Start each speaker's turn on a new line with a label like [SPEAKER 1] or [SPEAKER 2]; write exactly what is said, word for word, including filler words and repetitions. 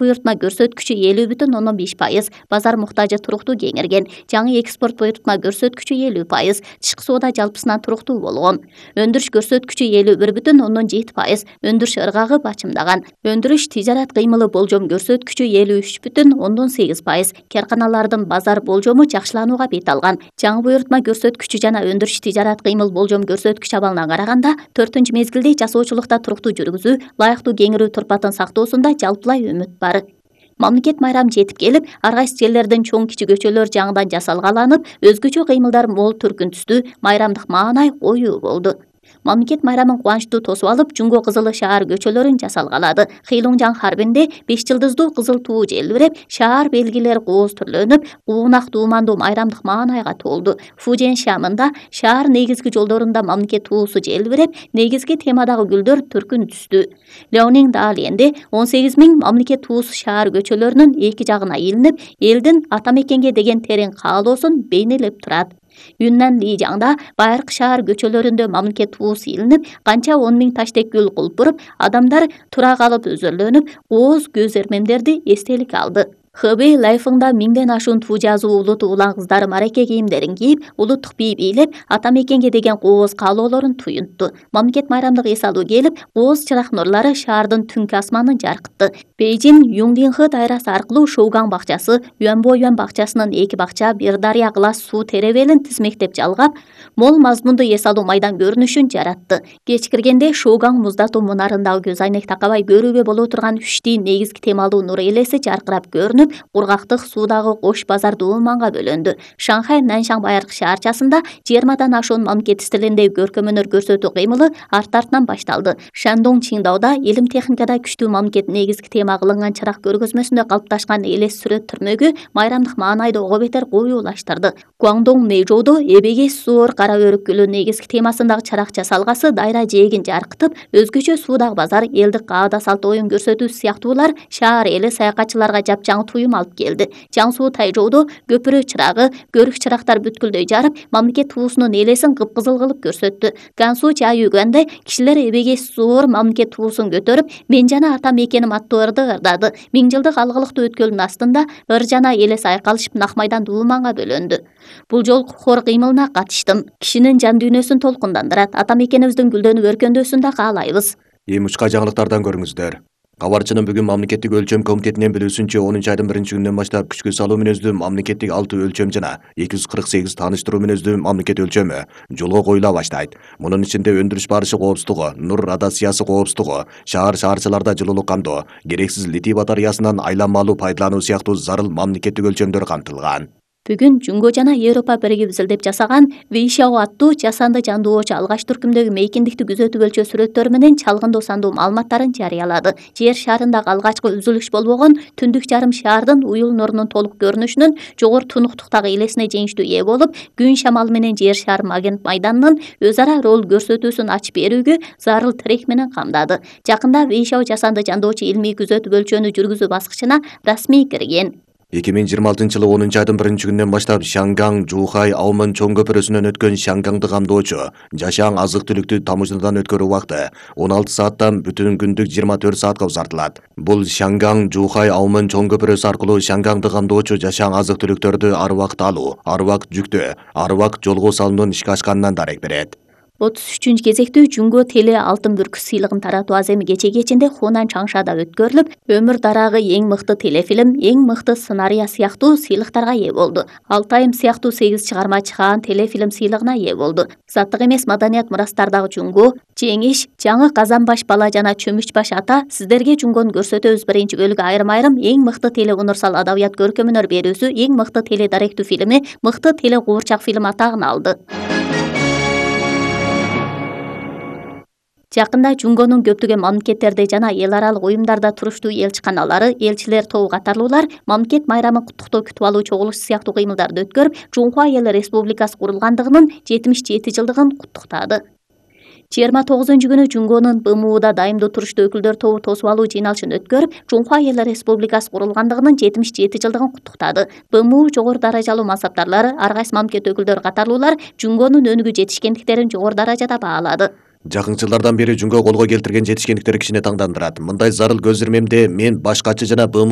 [SPEAKER 1] буйртма көрсөткүчү элүү бүтүн ондон беш пайыз, базар муктажы туруктуу кеңейген. Жаңы экспорт буйртма көрсөткүчү элүү пайыз, тышкы соода жалпысынан туруктуу болгон. Өндүрүш көрсөткүчү элүү бир бүтүн ондон жети пайыз, өндүрүш ыргагы бачымдаган. Өндүрүш тижарат кыймылы болжом көрсөткүчү элүү үч бүтүн ондон сегиз пайыз, карканалардын базар болжому жакшыланууга бет алган. Жаңы буйртма көрсөткүчү жана өндүрүш тижарат кыймыл болжом көрсөткүч абалына караганда төртүнчү мезгилде жасоочулукта туруктуу жүргүзүү, ылайыктуу кеңирүү турпатын сактоосунда жалпылай үмүт бар. Мамлекет майрамы жетип келип, ар кайсы жерлердин чоң-кичи көчөлөр жаңыдан жасалгаланып, өзгөчө кыймылдар мол түркүн түстүү, майрамдык маанай коюу болду. Мамлекет майрамын кубанычтуу тосуп алып, Жуңго Кызылы шаар көчөлөрүн жасалгалады. Хыйлоңжаң харбинде беш жылдыздуу кызыл туу желбиреп, шаар белгилери кооз түрлөнүп, куунак дуумандуу майрамдык маанайга толду. Фужен шамында шаар негизги жолдорунда мамлекет туусу желбиреп, негизги темадагы гүлдөр түркүн түстү. Леонин Далиенде он сегиз миң мамлекет туусу шаар көчөлөрүнүн эки жагына илинип, элдин ата мекенге деген терең каалоосун бейнелеп турат. Юннан Лижаңда байыркы шаар көчөлөрүндө мамлекет туусу илинип, канча он миң таштек гүл кулпуруп, адамдар тура калып өзөрлөнүп, кооз көз эрмемдерди эстелик алды. Хэбэй Лайфыңда миңден ашуун туу жазуу улуту улан кыздары мараке кийимдерин кийип, улуттук бий бийлеп, ата мекенге деген кооз каалоолорун туюнтту. Мамлекет майрамдык эс алуу келип, кооз чырак нурлары шаардын түнкү асманын жаркытты. Бейжин Юңдинхэ дайрасы аркылуу Шоугаң бакчасы, Юанбоюан бакчасынын эки бакча, бир дарыя кылас суу теребелин тизмектеп жалгап, мол мазмундуу эс алуу майдан көрүнүшүн жаратты. Кеч киргенде Шоугаң муздатуу мунарындагы көз айнек такабай көрүүгө боло турган үчтий негизги темалуу нур элеси жаркырап көрүнүп, кургактык суудагы кош базар дууманга бөлөндү. Шанхай Наншаң байыркы шаарчасында жыйырмадан ашуун мамлекет стилинде көркөм өнөр көрсөтүү кыймылы арт-артынан башталды. Шандong Чиндауда илим техникада күчтүү мамлекет негизги тема кылынган чырак көргөзмөсүндө калыпташкан элес сүрөт түрмөгү майрамдык маанайды ого бетер коюулаштырды. Гуаңдоң Мэйжоудо эбеге суур кара өрүк гүлү негизги темасындагы чырак жасалгасы дайра жээгин жаркытып, өзгөчө суудагы базар, элдик каада салт оюн көрсөтүүсү сыяктуулар шаар эли саякатчыларга жапжаң туюм алып келди. Жаңсуу Тайжоодо көпүрө чырагы, көрүк чырактар бүткүлдөй жарып, мамлекет туусунун элесин кыпкызыл кылып көрсөттү. Гансу Чаюганда кишилер эбеге суур мамлекет туусун көтөрүп, мен жана ата мекеним аттуу ырды ырдады. Миң жылдык алгылыктуу өткөлдүн астында ыр жана элес айкалышып нак майдан дууманга бөлөндү. Бул жолку хор кыймылына катыштым. Кишинин жан дүйнөсүн толкундандырат. Ата мекенибиздин гүлдөнүп өркөндөсүн да каалайбыз.
[SPEAKER 2] Эми учка жаңылыктардан көрүңүздөр. Кабарчынын бүгүн мамлекеттик өлчөм комитетинен билүүсүнчө онунчу айдын биринчи күнүнөн баштап күчкө салуу мүнөздүү мамлекеттик алты өлчөм жана эки жүз кырк сегиз тааныштыруу мүнөздүү мамлекет өлчөмү жолго коюла баштайт. Мунун ичинде өндүрүш барышы коопсуздугу, нур радиациясы коопсуздугу, шаар шаарчыларда жылуулук камтоо, керексиз литий батареясынан айланмалуу пайдалануу сыяктуу зарыл мамлекеттик өлчөмдөр камтылган.
[SPEAKER 1] Бүгүн Жуңго жана Европа биригип изилдеп жасаган Вейшао аттуу жасанды жандоочу алгач түркүмдөгү мейкиндикти күзөтүп өлчөө сүрөттөрү менен чалгындоо сандуу маалыматтарын жарыялады. Жер шарындагы алгачкы үзүлүш болбогон түндүк жарым шаардын уюл нурунун толук көрүнүшүнүн жогору тунуктуктагы элесине жеңиштүү ээ болуп, күн шамалы менен жер шары магнит майданынын өз ара роль көрсөтүүсүн ачып берүүгө зарыл тирек менен камдады. Жакында Вейшао жасанды жандоочу илмий күзөтүп өлчөөнү жүргүзүү баскычына расмий кирген.
[SPEAKER 2] эки миң жыйырма алтынчы жылы онунчу айдын биринчи күнүнөн баштап Шангаң Жухай Аумын чоң көпүрөсүнөн өткөн Шангаңды камдоочу жашаң азык түлүктү тамошадан өткөрүү убакыты он алты сааттан бүтүн күндүк жыйырма төрт саатка узартылат. Бул Шангаң Жухай Аумын чоң көпүрөсү аркылуу Шангаңды камдоочу жашаң азык түлүктөрдү ар убакыт алуу, ар убакыт жүктөө, ар убакыт жолго салуунун ишке ашканынан дарек берет.
[SPEAKER 1] отуз үчүнчү кезектүү Жуңго Теле алтын бүркүт сыйлыгын таратуу аземи кечеги кечинде Хунан Чаңшада өткөрүлүп, өмүр дарагы эң мыкты телефилм, эң мыкты сценария сыяктуу сыйлыктарга ээ болду. Алтайым сыяктуу сегиз чыгарма чыгаан телефилм сыйлыгына ээ болду. Заттык эмес маданият мурастардагы Жуңго, Жеңиш, Жаңы Казанбаш бала жана Чөмүчбаш ата сиздерге Жуңгону көрсөтөбүз биринчи бөлүгү айрым-айрым эң мыкты теле универсал адабият көркөм өнөр берүүсү, эң мыкты теле даректүү фильми, мыкты теле куурчак фильм атагын алды. Жакында Жуңгонун көптөгөн мамлекеттерде жана эл аралык уюмдарда туруштуу элчиканалары, элчилер тобу катарлуулар мамлекет майрамын куттуктоо күтүп алуу чогулуш сыяктуу кыймылдарды өткөрүп, Жунхуа Эл Республикасы курулгандыгынын жетимиш жети жылдыгын куттуктады. жыйырма тогузунчу күнү Жуңгонун Бэ Эм У'да дайымдуу туруштуу өкүлдөр тобу тосуп алуу жыйналышын өткөрүп, Жунхуа Эл Республикасы курулгандыгынын жетимиш жети жылдыгын куттуктады. Бэ Эм У жогору даражалуу мансаптарлары, ар кайсы мамлекет өкүлдөрү катарлуулар Жуңгонун өнүгүү жетишкендиктерин жогору даражада баалады.
[SPEAKER 2] Жакын жылдардан бери жөнгө колго келтирген жетишкендиктери кишини таңдандырат. Мындай зарыл көз ирмемде мен башкачы жана БМУ